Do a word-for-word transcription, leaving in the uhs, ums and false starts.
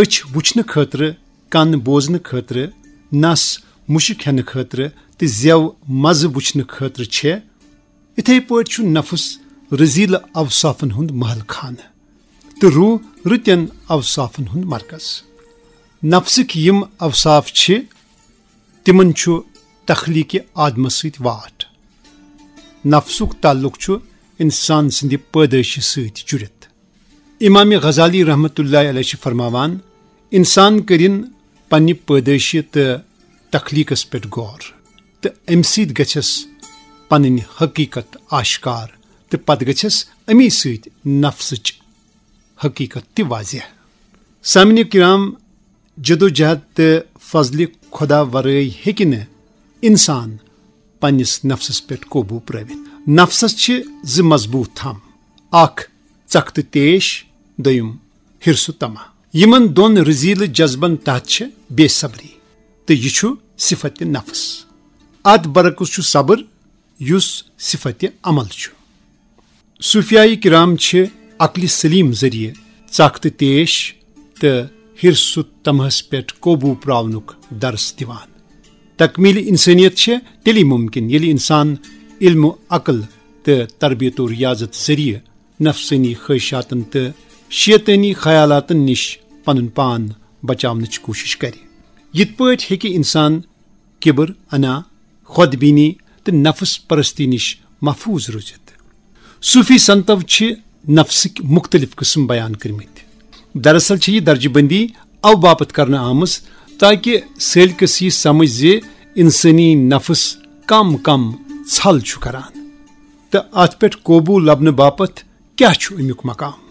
أچھ وٕچھنہٕ خٲطرٕ، کن بوزنہٕ خٲطرٕ، نس مُشک ہٮ۪نہٕ خٲطرٕ تہٕ زٮ۪و مزٕ وٕچھنہٕ خٲطرٕ چھےٚ، اِتھے پٲٹھۍ چھُ نفس رٔزیٖلہٕ اوصافن ہُنٛد محل خانہٕ تہٕ روح رٕتٮ۪ن اوصافن ہُنٛد مرکز۔ نفسٕکۍ یِم اوصاف چھِ، تِمن چھُ تخلیٖقِ آدمس سۭتۍ واٹھ۔ نفسُک تعلق چھُ انسان سٕنٛدِ پٲدٲیشہِ سۭتۍ جُڑِتھ۔ امام غزالی رحمتہ اللہ علیہ چھِ فرماوان، انسان کٔرِن پننہِ پٲدٲیشہِ تہٕ تخلیٖقس پٮ۪ٹھ غور، تہٕ امہِ سۭتۍ گژھٮ۪س پنٕنۍ حقیٖقت آشکار، تہٕ پتہٕ گژھٮ۪س امی سۭتۍ نفسٕچ حقیٖقت تہِ واضح۔ سامعیٖن کرام، جدوجہد تہٕ فضلِ خدا ورٲے ہیٚکہِ نہٕ انسان پننِس نفسس پٮ۪ٹھ قوبوٗ پرٲوِتھ۔ نفسس چھِ زٕ مضبوٗط تھم، اکھ ژکھ تہٕ تیش، دوٚیِم حرص و طمع۔ یِمن دۄن رٔزیٖلہٕ جذبن تحت چھِ بے صبری، تہٕ یہِ چھُ صفت نفس۔ اتھ برعکس چھُ صبر، یُس صفت عمل چھُ۔ صوفیائی کرام چھِ عقلِ سلیم ذٔریعہٕ ژکھ تہٕ تیش تہٕ حرص و طمعس پٮ۪ٹھ قوبوٗ پراونُک درس دِوان۔ تکمیل انسانیت چھےٚ تیٚلی ممکن، ییٚلہِ انسان علم و عقل تہٕ تربیت و ریاضت ذٔریعہٕ نفسٲنی خواہشاتن تہٕ شیطٲنی خیالاتن نِش پنُن پان بچاونٕچ کوٗشش کرِ۔ یِتھ پٲٹھۍ ہیٚکہِ انسان کبر، انا، خود بینی تہٕ نفس پرستی نِش محفوظ روٗزِتھ۔ صوفی سنتو چھِ نفسٕکۍ مُختٔلِف قٕسم بیان کٔرمٕتۍ۔ دراصل چھِ یہِ درجہٕ بندی او باپتھ کرنہٕ آمٕژ تاکہ سٲلکس یہِ سمجھ زِ انسٲنی نفس کم کم ژھل چھُ کران تہٕ اتھ پٮ۪ٹھ قوبوٗ لبنہٕ باپتھ کیٛاہ چھُ امیُک مقام۔